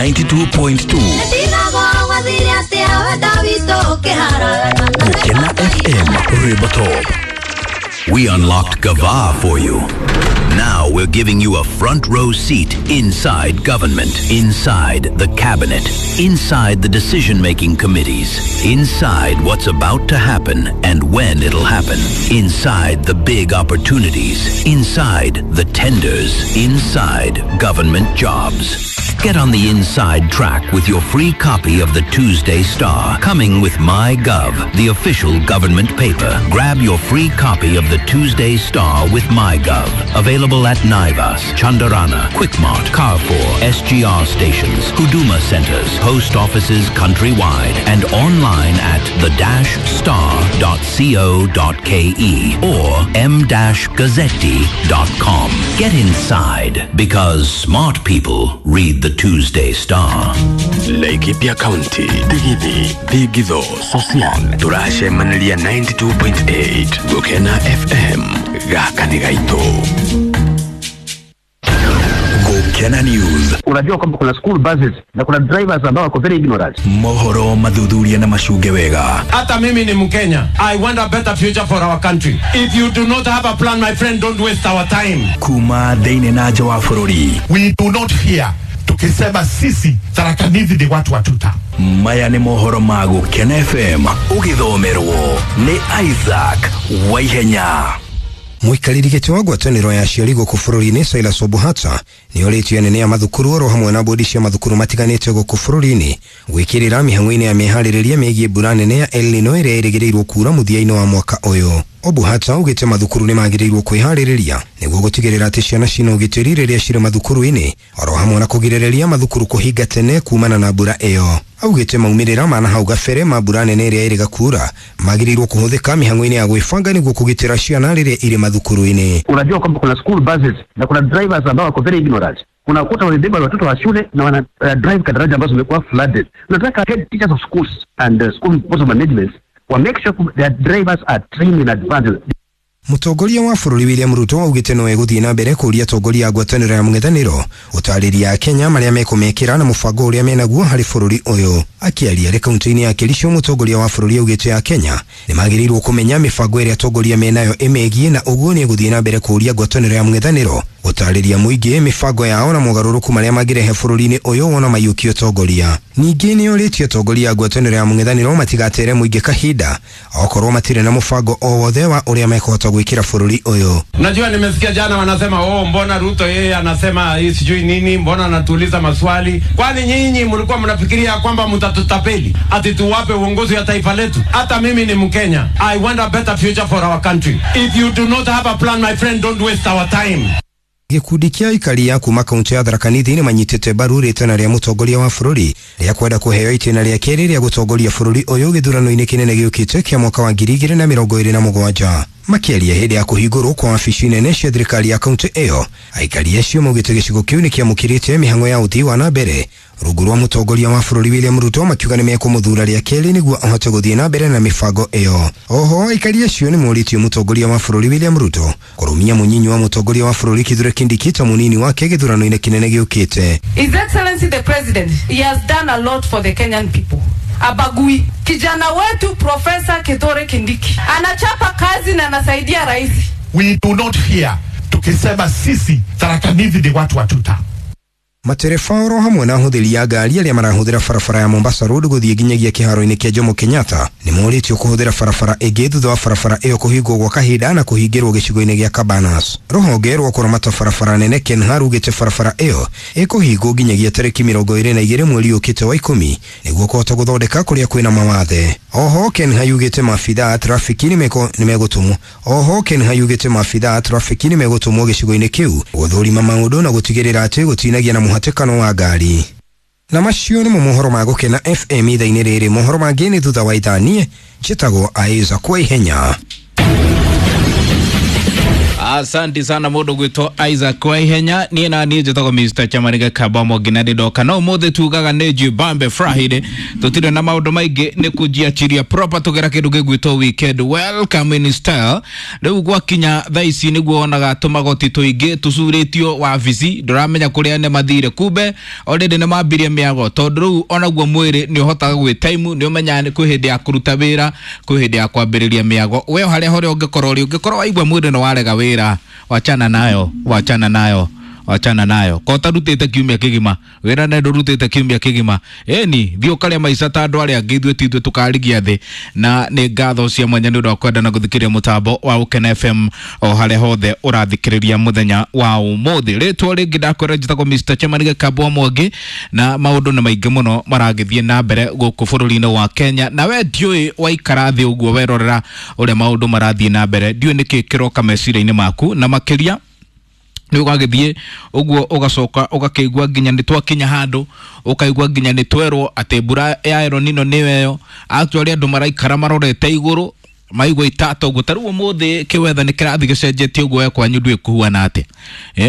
92.2. Gukena FM Ribotop. We unlocked Gava for you. Now we're giving you a front row seat inside government, inside the cabinet, inside the decision-making committees, inside what's about to happen and when it'll happen, inside the big opportunities, inside the tenders, inside government jobs. Get on the inside track with your free copy of the Tuesday Star, coming with MyGov, the official government paper. Grab your free copy of the Tuesday Star with MyGov. Available at Naivas, Chandarana, Quickmart, Carrefour, SGR stations, Huduma centers, post offices countrywide, and online at the-star.co.ke or m-gazzetti.com. Get inside, because smart people read the Tuesday Star. Laikipia County, Digithi, Thigitho, Sosian, turacemaniria 92.8 Gukena FM gaka nĩ gaitũ. Gukena News. Unajua kwamba kuna school buses na kuna drivers ambao wako very ignorant. Mohoro mathuthuria na macunge wega. Hata mimi ni Mkenya. I want a better future for our country. If you do not have a plan, my friend, don't waste our time. Kuma thĩinĩ na nja wa bũrũri. We do not fear. Tukisema sisi Tharaka Nithi ni watu wa tuta. Maya nĩ mohoro ma Gukena FM ũgĩthomerwo nĩ Isaac Waihenya. Mũikarĩri gĩtĩ wa ngwatanĩro ya aciari gũkũ bũrũri-inĩ Silas Obuhata nĩ orĩtie anene a mathukuru oro hamwe na bodi cia mathukuru matiganĩte gũkũ bũrũri-inĩ gwĩkĩrĩra mĩhang'o-inĩ ya mĩharĩrĩria mĩgiĩ mbura nene ya El Nino ĩrĩa ĩrĩgĩrĩirwo kuura mũthia-inĩ wa mwaka ũyũ. Obuhata augĩte mathukuru nĩ magĩrĩirwo kwĩharĩrĩria nĩguo gũtigĩrĩra atĩ ciana cina ũgitĩri rĩrĩa cirĩ mathukuru-inĩ oro hamwe na kũgirĩrĩria mathukuru kũhinga tene kumana na mbura ĩyo. Augĩte maumĩrĩra ma nahau gabere ma mbura nene ĩrĩa ĩrĩga kuura magĩrĩirwo kũhũthĩka mĩhang'o-inĩ ya gwĩbanga nĩguo kũgitĩra ciana rĩrĩa irĩ mathukuru-inĩ. Unajua kwamba kuna school buses na kuna drivers ambao wako very ignorant. Unakuta wamebeba watoto wa shule na wana drive kadaraja ambazo zimekuwa flooded. Nataka head teachers of schools and school board of management wa make sure their drivers are trained in advance. Mũtongoria wa bũrũri William Ruto augĩte no egũthiĩ na mbere kũũria atongoria a ngwatanĩro ya mũng'ethanĩro gũtarĩria Kenya marĩa mekũmekĩra na mũbango ũrĩa menaguo harĩ bũrũri ũyũ. Akĩaria arĩ kaunti-inĩ ya Kericho, mũtongoria wa bũrũri augĩte a Kenya nĩmagĩrĩirwo kũmenya mĩbango ĩrĩa atongoria menayo ĩmegiĩ na ũguo nĩ egũthiĩ na mbere kũũria ngwatanĩro ya mũng'ethanĩro gũtarĩria mũingĩ mĩbango yao na mogarũrũku marĩa mangĩrehe bũrũri-inĩ ũyũ wona maiyũkia ũtongoria. Ningĩ nĩorĩtie atongoria a ngwatanĩro ya mũng'ethanĩro matigatere mũingĩ kahinda okorwo matirĩ na mũbango o wothe wa ũrĩa mekũhota gwĩkĩra bũrũri ũyũ. Najua nimesikia jana wanasema, oh, mbona Ruto yeye anasema hii sijui nini, mbona anatuuliza maswali? Kwani nyinyi mlikuwa mnafikiria kwamba mtatutapeli ati tuwape uongozi wa taifa letu? Hata mimi ni Mkenya. I want a better future for our country. If you do not have a plan, my friend, don't waste our time. Gĩkundi kĩa aikari a kuma kaunti ya Tharaka Nithi nĩ manyitĩte mbaru rĩtana rĩa mũtongoria wa bũrũri rĩa kwenda kũheo itĩna rĩa kerĩ rĩa gũtongoria bũrũri ũyũ gĩthurano-inĩ kĩnene gĩũkĩte kĩa mwaka wa 2027. Makĩaria hĩndĩ ya kũhingũrwo kwa wabici nene cia thirikari ya kaunti ĩyo, aikari acio maugĩte gĩcigo kĩu nĩ kĩamũkĩrĩte mĩhang'o ya ũthii wa na mbere rungu rwa mũtongoria wa bũrũri William Ruto, makiuga nĩ mekũmũthura rĩa kerĩ nĩguo ahote gũthiĩ na mbere na mĩbango ĩyo. Oho aikari acio nĩ morĩtie mũtongoria wa bũrũri William Ruto kũrũmia mũnyinyi wa mũtongoria wa bũrũri Kithure Kindiki ta mũnini wake gĩthurano-inĩ kĩnene gĩũkĩte. His Excellency the President, he has done a lot for the Kenyan people. Abagui. Kijana wetu Professor Kithure Kindiki anachapa kazi na anasaidia rais. We do not fear. Tukisema sisi Tharaka Nithi ni watu wa tuta. Matereba oro hamwe na ahũthĩri a ngari arĩa marahũthĩra barabara ya Mombasa Road gũthiĩ nginyagia kĩharo-inĩ kĩa Jomo Kenyatta nĩ morĩtio kũhũthĩra barabara ĩngĩ thutha wa barabara ĩyo kũhingwo gwa kahinda na kũhingĩrwo gĩcigo-inĩ gĩa Cabanas. Rũhonge rwa kũramata barabara nene KENHA rugĩte barabara ĩyo ĩkũhingwo nginyagia tarĩki 22 mweri ũkĩte wa 10 nĩguo kũhota gũthondeka kũrĩa kwĩna mawathe. Oho KENHA yugĩte maabitha a trafiki nĩmegũtũmwo. Oho KENHA yugĩte maabitha a trafiki nĩmegũtũmwo gĩcigo-inĩ kĩu gũthũrima maũndũ na gũtigĩrĩra atĩ gũtinagia na mũhatĩkano wa ngari. Na macio nĩmo mohoro ma Gũkena FM ithaa-inĩ rĩrĩ. Mohoro mangĩ nĩ thutha wa ithaa. Niĩ njĩtagwo Isaac Waihenya. Asante sana mundu gwitwo Isaac Waihenya. Niĩ na niĩ njĩtagwo Mr. Chamariga Kabamo nginya ndĩndoka no ũmũthĩ tugaga nĩ Jibambe Friday, tũtirĩ na maũndũ maingĩ, nĩ kũnjiachiria proper tũgera kĩndũ gĩgwĩtwo weekend welcome in style. Rĩu gwakinya thaa ici nĩguo wonaga tũmagoti tũingĩ tũcurĩtio wabici, ndũramenya kũrĩa nĩ mathire, kumbe already nĩ mambirie mĩago, tondũ rĩu onaguo mwĩrĩ nĩ ũhotaga gwĩ time, nĩ ũmenyaga kwĩ hĩndĩ ya kũruta wĩra, kwĩ hĩndĩ ya kwambĩrĩria mĩago. We harĩa horĩa ũngĩkorwo ũrĩ, ũngĩkorwo waigua mwĩrĩ nĩ warega wĩra, wachana nayo, wachana nayo, wachana nayo. Ko tarutĩte kiumia kĩgima wĩra na ndũrutĩte kiumia kĩgima, ĩni thiĩ ũkarĩa maica ta andũ arĩa angĩ, ithuĩ ti ithuĩ tũkarigia thĩ. Na nĩ ngatho cia mwanya nĩ ũndũ wa kwenda na gũthikĩrĩria mũtambo wa Gũkena FM o harĩa hothe ũrathikĩrĩria mũthenya wa ũmũthĩ. Rĩtwa rĩngĩ ndakwĩra njĩtagwo Mr. Chamani Gĩkambwa Mwangi, na maũndũ nĩ maingĩ mũno maragĩthiĩ na mbere gũkũ bũrũri-inĩ wa Kenya, na we ndiũĩ waikara thĩ ũguo werorera ũrĩa maũndũ marathiĩ na mbere, ndiũĩ nĩkĩ kĩroka meciria-inĩ maku, na makĩria nĩ ũgagĩthiĩ ũguo ũgacoka ũgakĩigua nginya nĩ twakinya handũ ũkaigua nginya nĩ twerwo atĩ mbura ya El Nino nĩyo ĩyo. Actually andũ maraikara marorete igũrũ maigua itata ũguo. Ta rĩu ũmũthĩ kĩwetha nĩ kĩrathiĩ gĩcenjetie ũguo, we kwanyu ndũĩ kũhuana atĩa,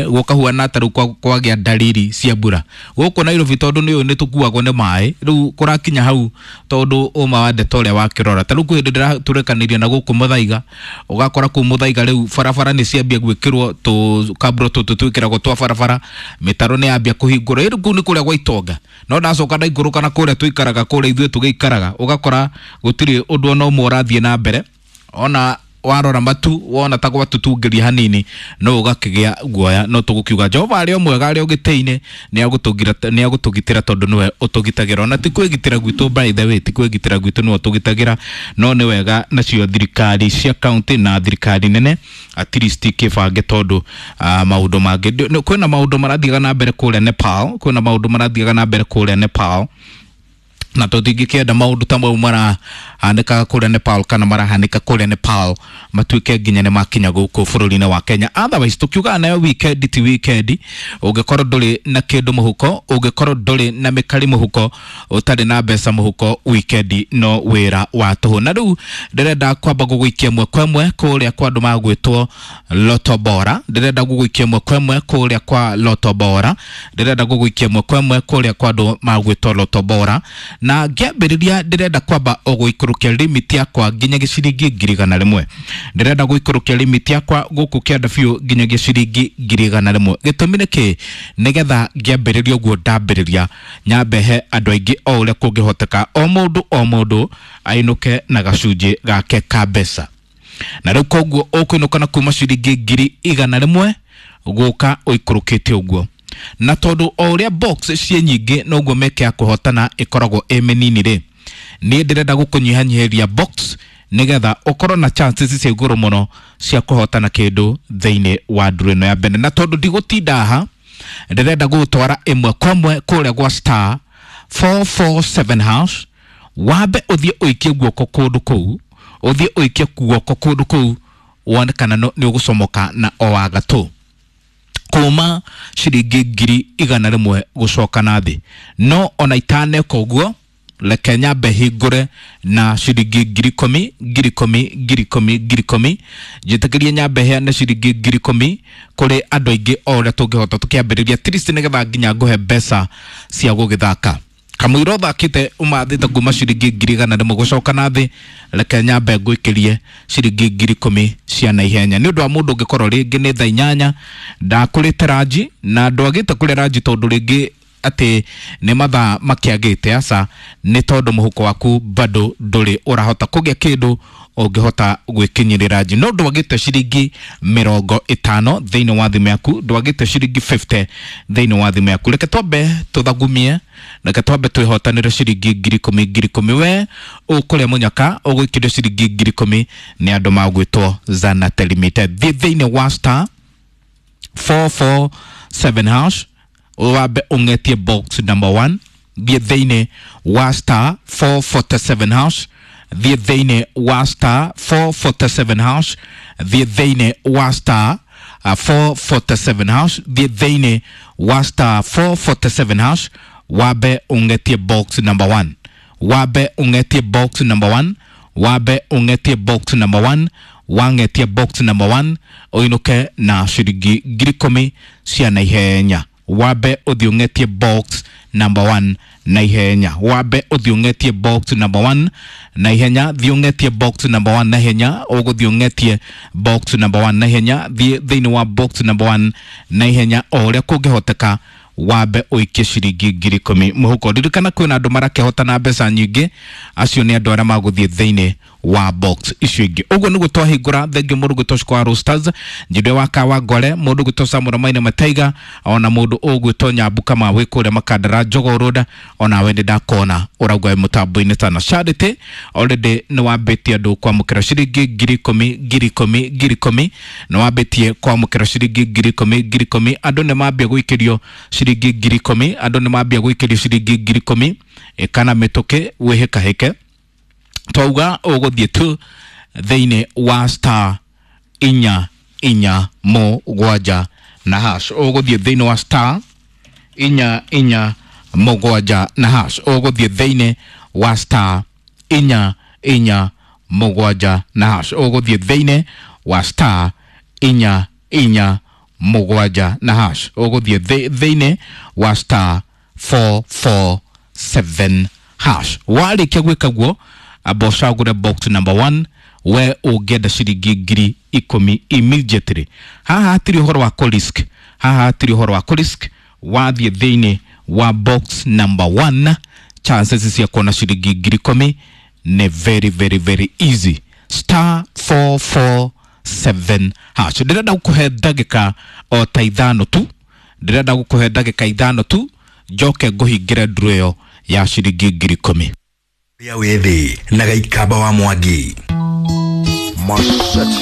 gũkahuana ta rĩu kwagĩa dalili cia mbura gũkũ Nairobi, tondũ nĩ ũĩ nĩ tũkuagwo nĩ maĩ. Rĩu kũrakinya hau tondũ ũma wa ndeto ũrĩa wakĩrora, ta rĩu kwĩ hĩndĩ ndĩratũrekanĩria na gũkũ Mũthaiga, ũgakora kũu Mũthaiga rĩu barabara nĩ ciambia gwĩkĩrwo tũkabro tũtũ twĩkĩragwo twa barabara, mĩtaro nĩ yambia kũhingũrwo. Ĩrĩ kũu nĩ kũrĩa gwa itonga, no ndacoka ndaikũrũka na kũrĩa tũikaraga, kũrĩa ithuĩ tũgĩikaraga, ũgakora gũtirĩ ũndũ ona ũmwe ũrathiĩ na mbere. Ona warora matu wona ta gwatutungĩria hanini no ũgakĩgĩa guoya, no tũgũkiuga Jehova arĩ o mwega, arĩ o gĩtĩ-inĩ, nĩ agũtũgitĩra tondũ nĩwe ũtũgitagĩra. Ona ti kwĩgitĩra gwitũ, by the way, ti kwĩgitĩra gwitũ nĩwe ũtũgitagĩra, no nĩ wega nacio thirikari cia county na thirikari nene at least kĩbange, tondũ maũndũ mangĩ kwĩna maũndũ marathiaga na mbere kũrĩa Nepal, kwĩna maũndũ marathiaga na mbere kũrĩa Nepal, na tũtingĩkĩenda maũndũ ta mau marahanĩkaga kũrĩa Nepal kana marahanĩka kũrĩa Nepal matuĩke nginya nĩ makinya gũkũ bũrũri-inĩ wa Kenya. Otherwise tũkiugaga nayo weekend ti weekend ũngĩkorwo ndũrĩ na kĩndũ mũhuko, ũngĩkorwo ndũrĩ na mĩkari mũhuko, ũtarĩ na mbeca mũhuko, weekend no wĩra wa tũhũ. Na rĩu ndĩrenda kwamba gũgũikia ĩmwe kwa ĩmwe kũrĩa kwa andũ magwĩtwo Lotto Bora, ndĩrenda gũgũikia ĩmwe kwa ĩmwe kũrĩa kwa Lotto Bora, ndĩrenda gũgũikia ĩmwe kwa ĩmwe kũrĩa kwa andũ magwĩtwo Lotto Bora. Na ngĩambĩrĩria ndĩrenda kwamba gũikũrũkia limit yakwa nginya gĩciringi 100,000. Ndĩrenda gũikũrũkia limit yakwa gũkũ kĩanda biũ nginya gĩciringi 100,000. Gĩtũmi nĩ kĩ? Nĩgetha ngĩambĩrĩria ũguo ndambĩrĩria nyambe he andũ aingĩ o ũrĩa kũngĩhoteka, o mũndũ o mũndũ ainũke na gacunjĩ gake ka mbeca. Na rĩu koguo ũkũinũka na kuma ciringi 100,000 gũka ũikũrũkĩte ũguo. Na tondũ o ũrĩa box ciĩ nyingĩ noguo mĩeke ya kũhotana ĩkoragwo ĩ mĩnini rĩ, niĩ ndĩrenda gũkũnyihanyihĩria box nĩgetha ũkorwo na chances cia igũrũ mũno cia kũhotana kĩndũ thĩinĩ wa nduru ĩno ya mbere. Na tondũ ndigũtinda haha, ndĩrenda gũgũtwara ĩmwe kwa ĩmwe kũrĩa gwa star 447 hash, wambe ũthiĩ ũikie guoko kũndũ kũu, ũthiĩ ũikie guoko kũndũ kũu wone kana nĩ ũgũcomoka na o wa gatũ kuma ciringi 100,000 gũcoka na thĩ. No ona itaneka ũguo, reke nyambe hingũre na ciringi 10,000 10,000 10,000 10,000, njĩtĩkĩrie nyambe heane ciringi 10,000 kũrĩ andũ aingĩ o ũrĩa tũngĩhota, tũkĩambĩrĩria at least nĩgetha nginya ngũhe mbeca cia gũgĩthaka. Kamũira ũthakĩte ũmathĩte kuma ciringi 100,000 gũcoka na thĩ, reke nyambe ngũikĩrie ciringi 10,000 cia naihenya. Nĩ ũndũ wa mũndũ ũngĩkorwo rĩngĩ nĩ thaa 8 ndakũrĩte ranji na ndwagĩte kũrĩa ranji tondũ rĩngĩ atĩ nĩ mathaa makĩagĩte, aca nĩ tondũ mũhuko waku bado ndũrĩ ũrahota kũgĩa kĩndũ ũngĩhota gwĩkinyĩrĩra ranji. No ndwagĩte ciringi 50 thĩinĩ wa thimũ yaku, ndwagĩte ciringi 50 thĩinĩ wa thimũ yaku. Reke twambe tũthagumie, reke twambe twĩhotanĩre ciringi 10,000 10,000. We ũkũrĩa mũnyaka ũgũikĩrio ciringi 10,000 nĩ andũ magwĩtwo Zanate Limited. Thiĩ thĩinĩ wa star 447 hash wambe ũng'etie box number 1. Thiĩ thĩinĩ wa star 447 hash, thiĩ thĩinĩ wa star 447 hash, thiĩ thĩinĩ wa star 447 hash, thiĩ thĩinĩ wa star 447 hash wambe ũng'etie box number 1, wambe ũng'etie box number 1, wambe ũng'etie box number 1, Wang'etia box number 1 ũinũke na ciringi 10,000 cia naihenya. Wambe ũthiĩ ũng'etie box number 1 na ihenya. Wambe ũthiĩ ũng'etie box number 1 na ihenya. Thiĩ ũng'etie box number 1 na ihenya. Ũgũthiĩ ũng'etie box number 1 na ihenya. Thiĩ thĩinĩ wa box number 1 na ihenya o ũrĩa kũngĩhoteka, wambe ũikie ciringi 10,000 mũhuko. Ririkana kwĩna andũ marakĩhota na mbeca nyingĩ, acio nĩ andũ arĩa magũthiĩ thĩinĩ wa box icio ingĩ. Ũguo nĩguo twahingũra. Thengiũ mũndũ gwĩtwo Shukwa Roasters, Njĩndĩ wa Kawa Ngore, mũndũ gwĩtwo Samuel Maina Mataiga, ona mũndũ ũgwĩtwo Nyambu Kama wĩ kũrĩa Makandara Jogoo Road, onawe nĩ ndakona ũrauga wĩ mũtambo-inĩ tana. Charity already nĩ wambĩtie andũ kwamũkĩra ciringi 10,000 10,000 10,000, nĩ wambĩtie kwamũkĩra ciringi 10,000 10,000. Andũ nĩ mambia gũikĩrio ciringi 10,000, andũ nĩ mambia gũikĩrio ciringi 10,000. Ĩkana mĩtũkĩ wĩhĩkahĩke, twauga ũgũthiĩ tu thĩinĩ wa star 4 4 7 na hash. Ũgũthiĩ thĩinĩ wa star 4 4 7 na hash. Ũgũthiĩ thĩinĩ wa star 4 4 7 na hash. Ũgũthiĩ thĩinĩ wa star 4 4 7 na hash. Ũgũthiĩ thĩinĩ wa star 4 4 7 hash. Warĩkia gwĩka guo, amba ũcagũre box number 1. We ũngĩenda ciringi 10,000 immediately, haha hatirĩ ũhoro wa kũ-risk, haha hatirĩ ũhoro wa kũ-risk. Wathiĩ thĩinĩ wa box number 1, chances cia kuona ciringi 10,000 nĩ very very very easy. Star 447 hash. Ndĩrenda gũkũhe ndagĩka o ta 5 tu, ndĩrenda gũkũhe ndagĩka 5 tu, njoke ngũhingĩre nduru ĩyo ya ciringi 10,000. Ya wĩthĩ na Gaikamba wa Mwangi. Mashati.